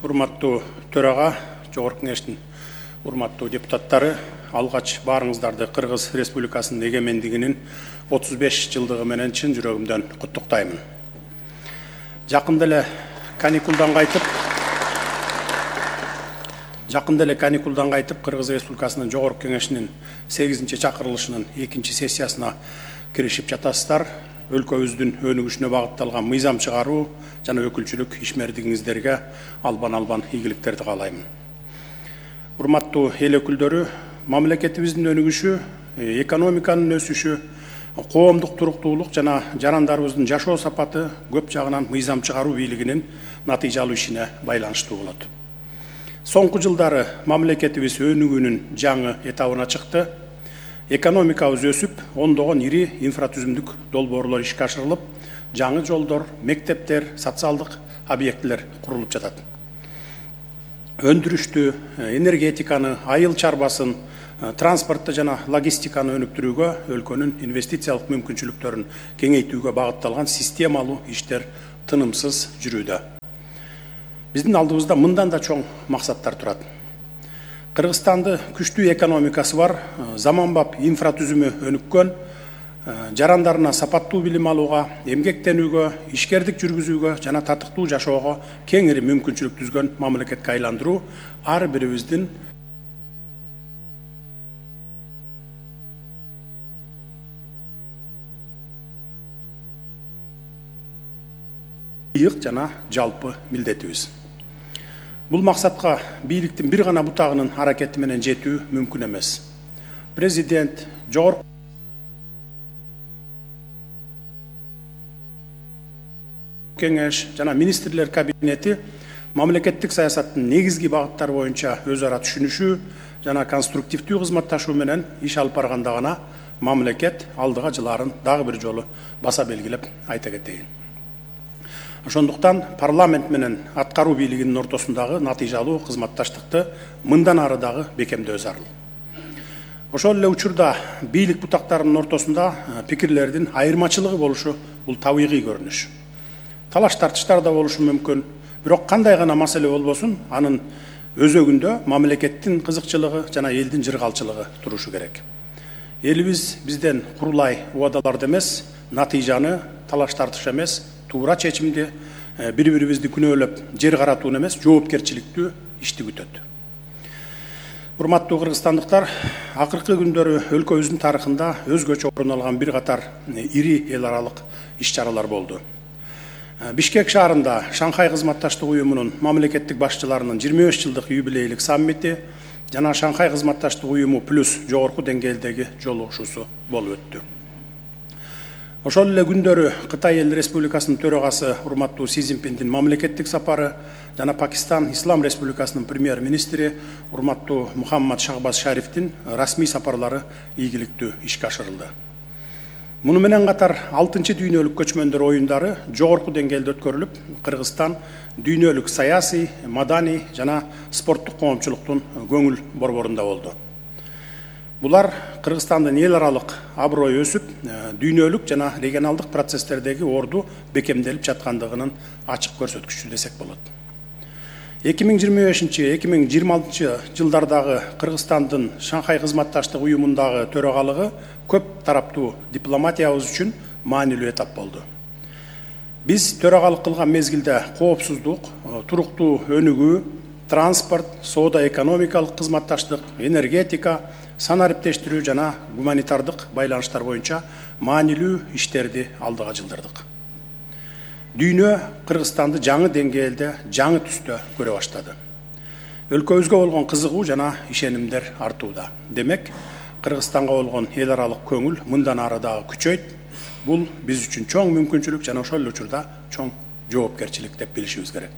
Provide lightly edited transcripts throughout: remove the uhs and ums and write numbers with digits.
урматтуу төрага, Жогорку Кеңештин урматтуу депутаттары, алгач баарыңыздарды Кыргыз Республикасынын эгемендигинин 35 жылдыгы менен чын жүрөгүмдөн куттуктаймын. Жакында эле каникулдан кайтып, Кыргыз Республикасынын Жогорку Кеңешинин 8-чакырылышынын 2-сессиясына киришип жатасыздар. Өлкөбүздүн өнүгүшүнө багытталган мыйзам чыгаруу жана өкүлчүлүк ишмердигиңиздерге албан ийгиликтерди каалаймын. Урматтуу эл өкүлдөрү, мамлекетибиздин өнүгүшү, экономиканын өсүшү, коомдук туруктуулук жана жарандарыбыздын жашоо сапаты көп жагынан мыйзам чыгаруу бийлигинин натыйжалуу ишине байланыштуу болот. Соңку жылдары мамлекетибиз өнүгүүнүн жаңы этабына чыкты. Экономикабыз өсүп, ондогон ири инфратүзүмдүк долбоорлор ишке ашырылып, жаңы жолдор, мектептер, социалдык объектилер курулуп жатат. Өндүрүштү, энергетиканы, айыл чарбасын, транспортты жана логистиканы өнүктүрүүгө, өлкөнүн инвестициялык мүмкүнчүлүктөрүн кеңейтүүгө багытталган системалуу иштер тынымсыз жүрүүдө. Биздин алдыбызда мындан да чоң максаттар турат. Кыргызстанды күчтүү экономикасы бар, заманбап инфратүзүмү өнүккөн, жарандарына сапаттуу билим алууга, эмгектенүүгө, ишкердик жүргүзүүгө жана татыктуу жашоого кеңири мүмкүнчүлүк түзгөн мамлекетке айландыруу ар бирибиздин ыйык жана жалпы милдетибиз. Бул максатка бийликтин бир гана бутагынын аракети менен жетүү мүмкүн эмес. Президент, Жогорку Кеңеш жана министрлер кабинети мамлекеттик саясаттын негизги багыттары боюнча өз ара түшүнүшүү жана конструктивдүү кызматташуу менен иш алып барганда гана мамлекет алдыга жылаарын дагы бир жолу баса белгилеп айта кетейин. Ошондуктан парламент менен аткаруу бийлигинин ортосундагы натыйжалуу кызматташтыкты мындан ары дагы бекемдөө зарыл. Ошол эле учурда бийлик бутактарынын ортосунда пикирлердин айырмачылыгы болушу бул табигый көрүнүш. Талаш тартыштар да болушу мүмкүн, бирок кандай гана маселе болбосун, анын өзөгүндө мамлекеттин кызыкчылыгы жана элдин жыргалчылыгы турушу керек. Элибиз бизден курулай убадаларды эмес, натыйжаны, талаш тартыш эмес, туура чечимди, бири-бирибизди күнөөлөп, жер каратууну эмес, жоопкерчиликтүү ишти күтөт. Урматтуу кыргызстандыктар, акыркы күндөрү өлкөбүздүн тарыхында өзгөчө орун алган бир катар ири эл аралык иш-чаралар болду. Бишкек шаарында Шанхай кызматташтык уюмунун мамлекеттик башчыларынын 25 жылдык юбилейлик саммити жана Шанхай кызматташтык уюму плюс жогорку деңгээлдеги жолугушуусу болуп өттү. Ошол эле күндөрү Кытай Эл Республикасынын төрагасы урматтуу Си Цзиньпиндин мамлекеттик сапары жана Пакистан Ислам Республикасынын премьер-министри урматтуу Мухаммад Шахбаз Шарифтин расмий сапарлары ийгиликтүү ишке ашырылды. Муну менен катар 6-чы дүйнөлүк көчмөндөр оюндары жогорку деңгээлде өткөрүлүп, Кыргызстан дүйнөлүк саясий, маданий жана спорттук коомчулуктун көңүл борборунда болду. Булар Кыргызстандын эл аралык аброю өсүп, дүйнөлүк жана регионалдык процесстердеги орду бекемделип жаткандыгынын ачык көрсөткүчү десек болот. 2025-2026 жылдардагы Кыргызстандын Шанхай кызматташтык уюмундагы төрагалыгы көп тараптуу дипломатиябыз үчүн маанилүү этап болду. Биз төрагалык кылган мезгилде коопсуздук, туруктуу өнүгүү, транспорт, соода-экономикалык кызматташтык, энергетика, санариптештирүү жана гуманитардык байланыштар боюнча маанилүү иштерди алдыга жылдырдык. Дүйнө Кыргызстанды жаңы деңгээлде, жаңы түстө көрө баштады. Өлкөбүзгө болгон кызыгуу жана ишенимдер артууда. Демек, Кыргызстанга болгон эл аралык көңүл мындан ары дагы күчөйт. Бул биз үчүн чоң мүмкүнчүлүк жана ошол эле учурда чоң жоопкерчилик деп билишибиз керек.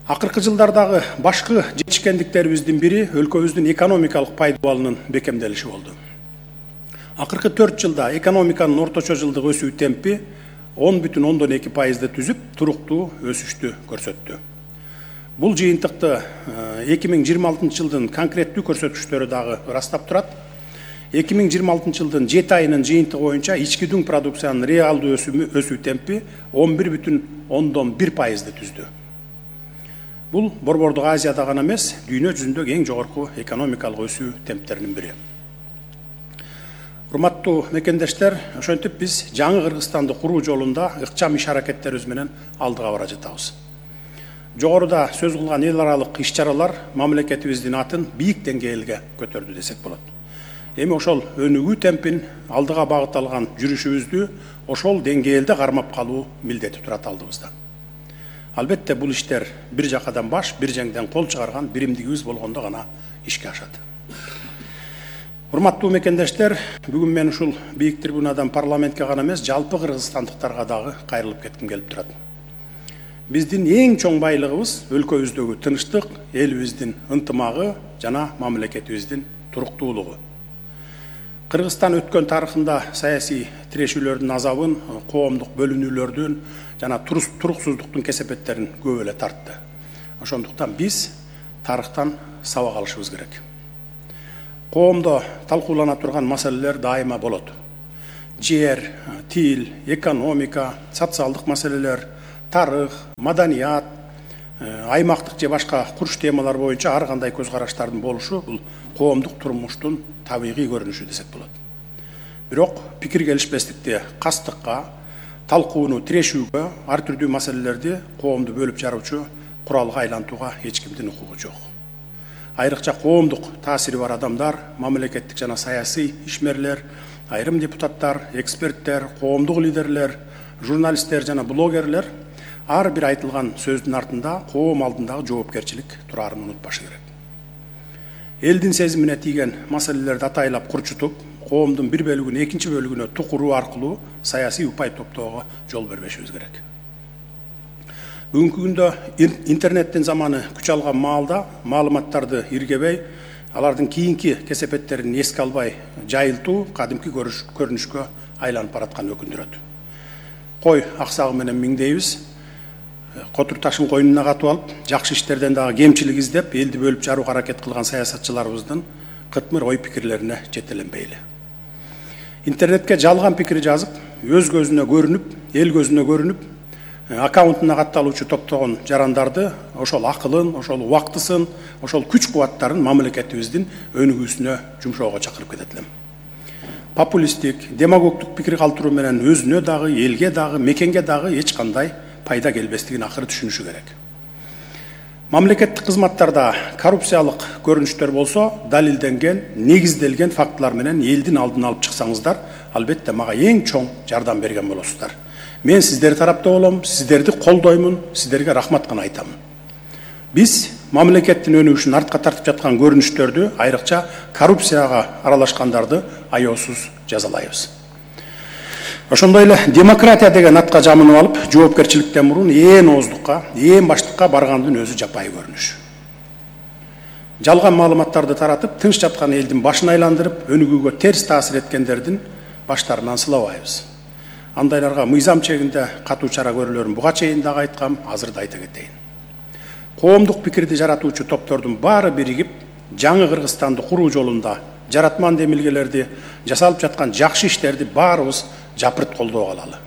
Акыркы жылдардагы башкы жетишкендиктерибиздин бири өлкөбүздүн экономикалык пайдалануунун бекемделиши болду. Акыркы 4 жылда экономиканын орточо жылдык өсүү темпи 10,2% түзүп, туруктуу өсүштү көрсөттү. Бул жыйынтыкты 2026 жылдын конкреттүү көрсөткүчтөрү дагы ырастап турат. 2026 жылдын 7 айынын жыйынтыгы боюнча ички дүң продукциянын реалдуу өсүү темпи 11,1% түздү. Бул Борбордук Азияда гана эмес, дүйнө жүзүндөгү эң жогорку экономикалык өсүү темптеринин бири. Урматтуу мекендештер, ошентип биз жаңы Кыргызстанды куруу жолунда ыкчам иш аракеттерибиз менен алдыга бара жатабыз. Жогоруда сөз кылган эл аралык иш-чаралар мамлекетибиздин атын бийик деңгээлге көтөрдү десек болот. Эми ошол өнүгүү темпин алдыга багыт алган жүрүшүбүздү ошол деңгээлде кармап калуу милдети турат алдыбызда. Албетте бул иштер бир жакадан баш, бир жеңден кол чыгарган биримдигибиз болгондо гана ишке ашат. Урматтуу мекендештер, бүгүн мен ушул бийик трибунадан парламентке гана эмес, жалпы кыргызстандыктарга дагы кайрылып кетким келип турат. Биздин эң чоң байлыгыбыз өлкөбүздөгү тынчтык, элибиздин ынтымагы жана мамлекетибиздин туруктуулугу. Кыргызстан өткөн тарыхында саясий тирешүүлөрдүн азабын, коомдук бөлүнүүлөрдүн жана туруксуздуктун кесепеттерин көп эле тартты. Ошондуктан биз тарыхтан сабак алышыбыз керек. Коомдо талкуулана турган маселелер дайыма болот. Жер, тил, экономика, социалдык маселелер, тарых, маданият, аймактык же башка курч темалар боюнча ар кандай көз караштардын болушу бул коомдук турмуштун табигый көрүнүшү десек болот. Бирок пикир келишпестикти кастыкка, талкууну тирешүүгө, ар түрдүү маселелерди коомду бөлүп жаруучу куралга айлантууга эч кимдин укугу жок. Айрыкча коомдук таасири бар адамдар, мамлекеттик жана саясий ишмерлер, айрым депутаттар, эксперттер, коомдук лидерлер, журналисттер жана блогерлер ар бир айтылган сөздүн артында коом алдындагы жоопкерчилик турарын унутпашы керек. Элдин сезимине тийген маселелерди атайлап курчутуп, коомдун бир бөлүгүн экинчи бөлүгүнө тукуруу аркылуу саясий упай топтоого жол бербешибиз керек. Бүгүнкү күндө интернеттин заманы күч алган маалда маалыматтарды иргебей, алардын кийинки кесепеттерин эске албай жайылтуу кадимки көрүнүшкө айланып бараткан өкүндүрөт. Кой аксагы менен миңдейбиз, котур ташын койнуна катып алып, жакшы иштерден дагы кемчилик издеп, элди бөлүп жарууга аракет кылган саясатчыларыбыздын кытмыр ой пикирлерине жетеленбейли. Интернетке жалган пикир жазып, өз көзүнө көрүнүп, эл көзүнө көрүнүп, аккаунтуна катталуучу топтогон жарандарды, ошол акылын, ошол убактысын, ошол күч-кубаттарын мамлекетибиздин өнүгүүсүнө жумшоого чакырып кетет элем. Популисттик, демагогдук пикир калтыруу менен өзүнө дагы, элге дагы, мекенге дагы эч кандай пайда келбестигин акыры түшүнүшү керек. Мамлекеттик кызматтарда коррупциялык көрүнүштөр болсо, далилденген, негизделген фактылар менен элдин алдын алып чыксаңыздар, албетте мага эң чоң жардам берген болосуздар. Мен сиздер тарапта болом, сиздерди колдоймун, сиздерге рахмат гана айтамын. Биз мамлекеттин өнүгүшүн артка тартып жаткан көрүнүштөрдү, айрыкча коррупцияга аралашкандарды аяосуз жазалайбыз. Ошондой эле демократия деген атка жамынып алып, жоопкерчиликтен мурун ээн ооздукка, ээн баштыкка баргандын өзү жапайы көрүнүш. Жалган маалыматтарды таратып, тынч жаткан элдин башын айландырып, өнүгүүгө терс таасир эткендердин баштарынан сылабайбыз. Андайларга мыйзам чегинде катуу чара көрүлөрүн буга чейин дагы айткам, азыр да айта кетейин. Коомдук пикирди жаратуучу топтордун баары биригип, жаңы Кыргызстанды куруу жолунда жаратман демилгелерди, жасалып жаткан жакшы иштерди баарыбыз жапырт колдоого алалы.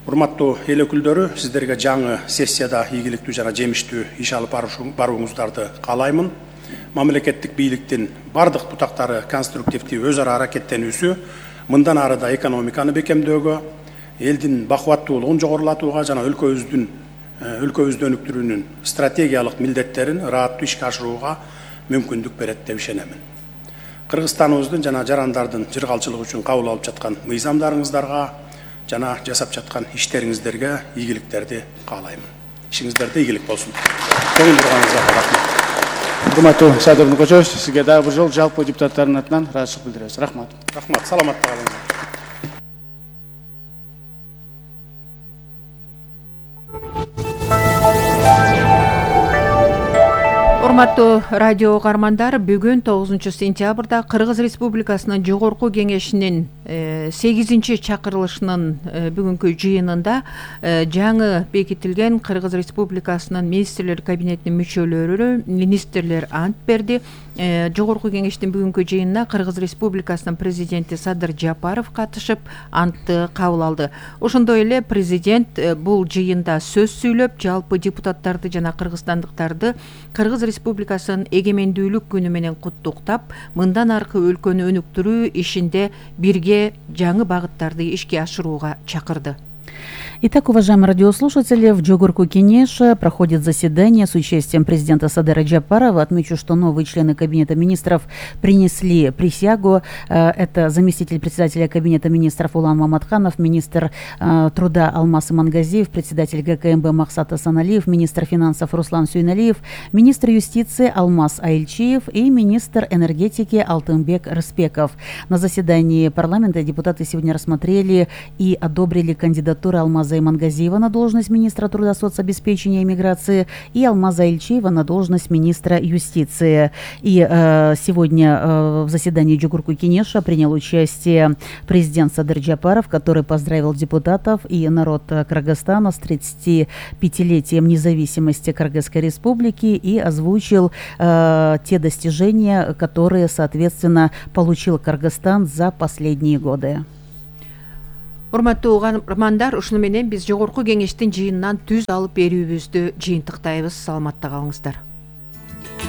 Урматтуу эл өкүлдөрү, сиздерге жаңы сессияда ийгиликтүү жана жемиштүү иш алып барууңуздарды каалаймын. Мамлекеттик бийликтин бардык бутактары конструктивдүү өз ара аракеттенүүсү мындан ары да экономиканы бекемдөөгө, элдин бакубаттуулугун жогорулатууга жана өлкөбүздү өнүктүрүүнүн стратегиялык милдеттерин ырааттуу ишке ашырууга мүмкүндүк берет деп ишенемин. Кыргызстаныбыздын жана жарандардын жыргалчылыгы үчүн кабыл алып жаткан мыйзамдарыңыздарга жана жасап жаткан иштериңиздерге ийгиликтерди каалаймын. Ишиңиздерде ийгилик болсун. Көңүл бурганыңызга рахмат. Урматтуу Садыр Нуркочоевич, сизге дагы бир жолу жалпы депутаттардын атынан ыраазычылык билдиребиз. Рахмат. Рахмат, саламатта калыңыздар. Урматтуу радио угармандар, бүгүн 9-сентябрда Кыргыз Республикасынын Жогорку Кеңешинин 8-чакырылышынын бүгүнкү жыйынында жаңы бекитилген Кыргыз Республикасынын министрлер кабинетинин мүчөлөрү министрлер ант берди. Жогорку Кеңештин бүгүнкү жыйынына Кыргыз Республикасынын президенти Садыр Жапаров катышып, антты кабыл алды. Ошондой эле президент бул жыйында сөз сүйлөп, жалпы депутаттарды жана кыргызстандыктарды Кыргыз Республикасынын эгемендүүлүк күнү менен куттуктап, мындан аркы өлкөнү өнүктүрүү ишинде бирге жаңы багыттарды ишке ашырууга чакырды. Итак, уважаемые радиослушатели, в Жогорку Кенеше проходит заседание с участием президента Садыра Джапарова. Отмечу, что новые члены Кабинета министров принесли присягу. Это заместитель председателя Кабинета министров Улан Маматханов, министр труда Алмаз Имангазиев, председатель ГКМБ Махсат Асаналиев, министр финансов Руслан Сюйналиев, министр юстиции Алмаз Айлчиев и министр энергетики Алтынбек Рыспеков. На заседании парламента депутаты сегодня рассмотрели и одобрили кандидатуры Алмаза Имангазиева на должность министра труда, соцобеспечения и миграции и Алмаза Ильчиева на должность министра юстиции. И сегодня в заседании Жогорку Кенеша принял участие президент Садыр Джапаров, который поздравил депутатов и народ Кыргызстана с 35-летием независимости Кыргызской республики и озвучил те достижения, которые, соответственно, получил Кыргызстан за последние годы. Урматтуу угармандар, ушуну менен биз Жогорку Кеңештин жыйынынан түз алып берүүбүздү жыйынтыктайбыз. Саламатта калыңыздар.